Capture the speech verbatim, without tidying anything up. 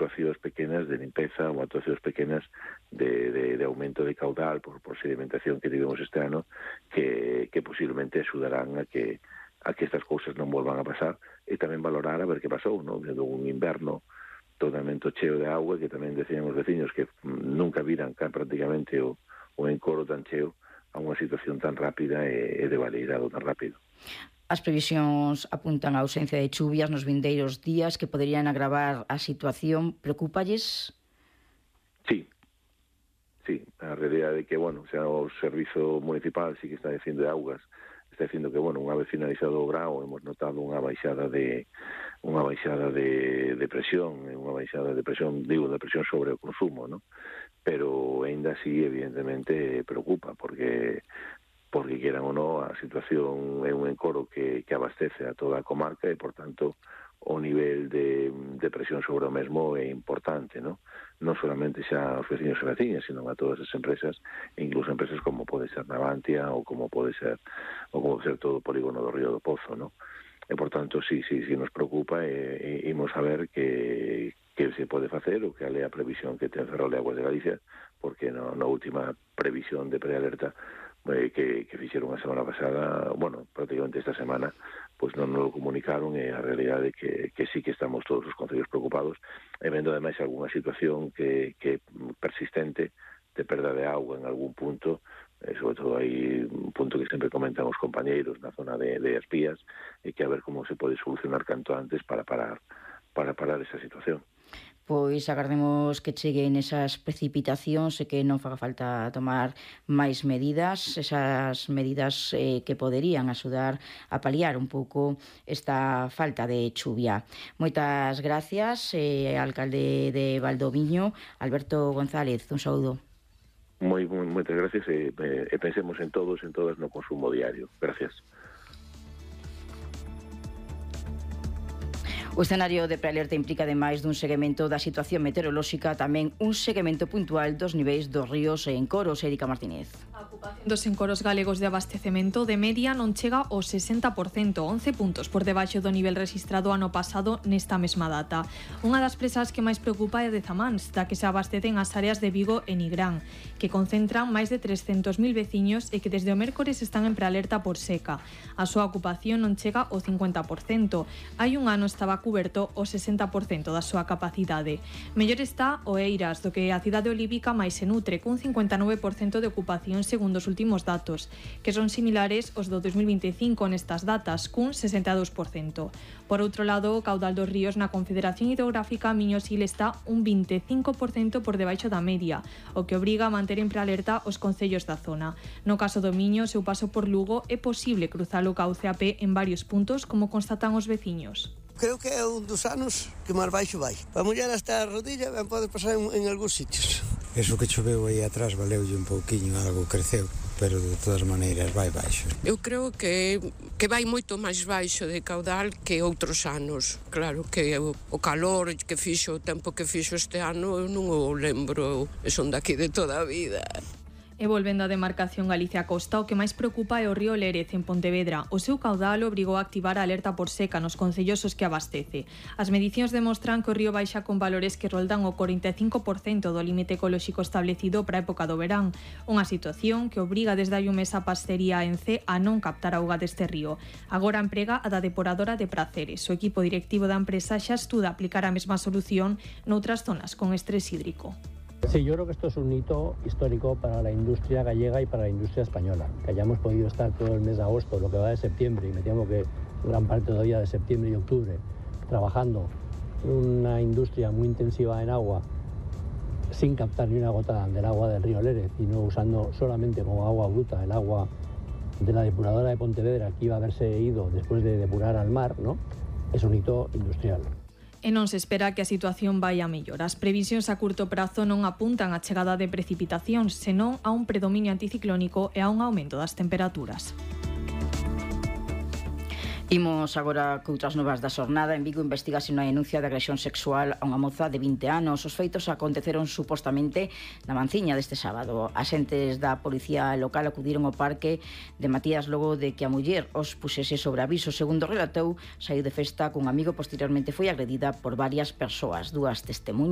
actuacións pequenas de limpeza ou actuacións pequenas de, de, de aumento de caudal por, por sedimentación que tivemos este ano que, que posiblemente axudarán a que a que estas cousas non volvan a pasar e tamén valorar a ver que pasou, non? De un inverno totalmente cheo de agua que tamén decían os veciños que nunca viran prácticamente o, o encoro tan cheo a unha situación tan rápida e, e de valeirado tan rápido. As previsións apuntan a ausencia de chuvias nos vindeiros días que poderían agravar a situación. Preocúpalles? Sí, sí. A realidade é que, bueno, xa o Servizo Municipal sí que está dicindo de augas, está dicindo que, bueno, unha vez finalizado o grao hemos notado unha baixada de unha baixada de, de presión, unha baixada de presión, digo, de presión sobre o consumo, ¿no? Pero ainda así, evidentemente, preocupa, porque porque queran ou non, a situación é un encoro que, que abastece a toda a comarca e, por tanto, o nivel de, de presión sobre o mesmo é importante, non? Non solamente xa aos veciños e veciñas, sino a todas as empresas, incluso empresas como pode ser Navantia ou como pode ser ou como pode ser todo o polígono do Río do Pozo, non? E, por tanto, sí, sí, sí nos preocupa e, e imos a ver que, que se pode facer o que é a previsión que ten Ferrol de Aguas de Galicia, porque no, na última previsión de prealerta eh, que, que fixeron a semana pasada, bueno, prácticamente esta semana, pois non nos lo comunicaron e a realidade é que, que sí que estamos todos os concellos preocupados e vendo ademais algunha situación que, que persistente de perda de auga en algún punto, eh, sobre todo hai un punto que sempre comentan os compañeiros na zona de, de Espías e que a ver como se pode solucionar canto antes para parar para parar esa situación. Pois agardemos que cheguen esas precipitacións e que non faga falta tomar máis medidas, esas medidas eh, que poderían axudar a paliar un pouco esta falta de chuvia. Moitas gracias, eh, alcalde de Valdoviño, Alberto González, un saúdo. Moi, moi, moitas gracias e, e pensemos en todos, en todas no consumo diario. Gracias. O escenario de prealerta implica, ademais dun seguimento da situación meteorolóxica, tamén un seguimento puntual dos niveis dos ríos e encoros. Érica Martínez. A ocupación dos encoros galegos de abastecemento de media non chega ao sesenta por cento, once puntos por debaixo do nivel registrado ano pasado nesta mesma data. Unha das presas que máis preocupa é de Zamáns, da que se abastecen as áreas de Vigo e Nigrán, que concentran máis de trescentos mil veciños e que desde o mércores están en prealerta por seca. A súa ocupación non chega ao cincuenta por cento. Hai un ano estaba cuberto o sesenta por cento da súa capacidade. Mellor está o Eiras, do que a cidade olívica máis se nutre, cun cincuenta e nove por cento de ocupación segundo os últimos datos, que son similares aos do dos mil vinte e cinco nestas datas, cun sesenta e dous por cento. Por outro lado, o caudal dos ríos na Confederación Hidrográfica Miño-Sil está un vinte e cinco por cento por debaixo da media, o que obriga a manter en prealerta os concellos da zona. No caso do Miño, seu paso por Lugo, é posible cruzar o cauce a pé en varios puntos, como constatan os veciños. Creo que é un dos anos que máis baixo vai. Para mulher hasta a rodilla ben pode pasar en, en algúns sitios. Eso que choveu aí atrás valeulle un pouquiño, algo creceu, pero de todas maneiras vai baixo. Eu creo que que vai moito máis baixo de caudal que outros anos. Claro que o, o calor que fixo, o tempo que fixo este ano, eu non o lembro, eu son daqui de toda a vida. E volvendo á demarcación Galicia-Costa, o que máis preocupa é o río Lérez, en Pontevedra. O seu caudal obrigou a activar a alerta por seca nos concellos os que abastece. As medicións demostran que o río baixa con valores que roldan o corenta e cinco por cento do límite ecolóxico establecido para a época do verán. Unha situación que obriga desde hai un mes a Pastería en C a non captar auga deste río. Agora emprega a da depuradora de Praceres. O equipo directivo da empresa xa estuda aplicar a mesma solución noutras zonas con estrés hídrico. Sí, yo creo que esto es un hito histórico para la industria gallega y para la industria española. Que hayamos podido estar todo el mes de agosto, lo que va de septiembre, y me temo que gran parte todavía de septiembre y octubre, trabajando en una industria muy intensiva en agua, sin captar ni una gota del agua del río Lérez, y no usando solamente como agua bruta el agua de la depuradora de Pontevedra, que iba a haberse ido después de depurar al mar, ¿no? Es un hito industrial. E non se espera que a situación vai a mellor. As previsións a curto prazo non apuntan a chegada de precipitacións, senón a un predominio anticiclónico e a un aumento das temperaturas. Imos agora co outras novas da xornada. En Vigo investigase unha denuncia de agresión sexual a unha moza de vinte anos. Os feitos aconteceron supostamente na manciña deste sábado. Axentes da policía local acudiron ao parque de Matías logo de que a muller os puxese sobre aviso. Segundo relatou, saiu de festa cun amigo, posteriormente foi agredida por varias persoas. Dúas testemunhas